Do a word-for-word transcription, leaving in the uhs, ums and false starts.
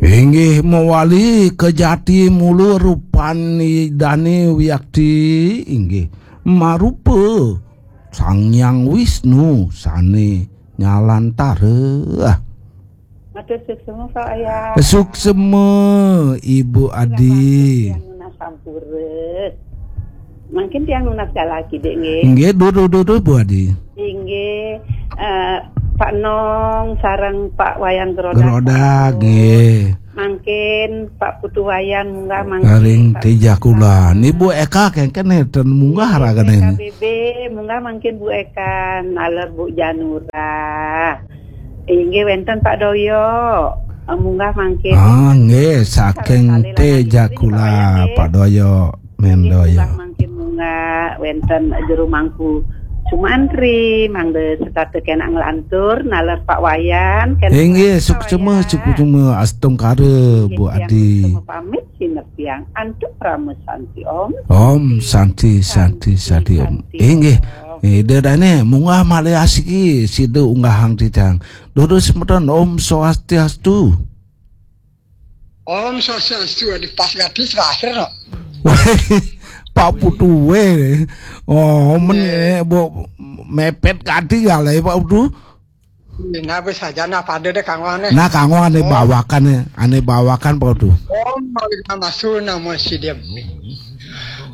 Inggih mawali kejati mula rupan Idane wiakti, inggih marupa Sang Hyang Wisnu sane nyalantara. Matur suksma, Pak Ayah. Suksma, Ibu Adi. Yang nunas sampura. Mangkin tiang nunas kalaki, Dik, nggih. Nggih, duh, duh, duh, duh, Bu Adi. Inggih, eh, Pak Nong sareng Pak Wayan Gerodak. Gerodak, nggih. Mangkin Pak Putu Wayan munggah mangkin. Ring Pak tijah kula. Ni Bu Eka kengken ten munggah Inggih, ragane. P K B B, munggah mangkin Bu Eka, naler Bu Janura. Inggih wenten Pak Doyo. Eh, munggah mangkin. Ah, nggih, saking Kali-kali tijah lagi, kula, Pak Wayan, nggih. Pak Doyo. Nggih, Mendoyo. Munggah mangkin munggah wenten jero mangku Sumantri, mangda setata kena nglantur, naler Pak Wayan, kena Inggih, Pak suksma, Wayan. Suksma, astungkara, Inggih, Bu tiang Adi. Suksma pamit, sinepiang antuk Parama Santi Om. Om Santi, Santi, Santi, Santi Om. Santi Inggih. Om. Eh, dedane munggah malih asiki, sida unggahang titang. Dudu semeton, Om Swastiastu. Om Swastiastu, di pas gadis terakhir, no. Wah, Pak Putu we. Oh, men Eh. Bu mepet kadi ya lah, Pak Putu. Nah, wis aja, nah, pada deh, Kang Wan, eh. Nah, Kang Wan ane Oh. bawakan, ane bawakan, Pak Putu. Om Malika Masu Namo Sidem.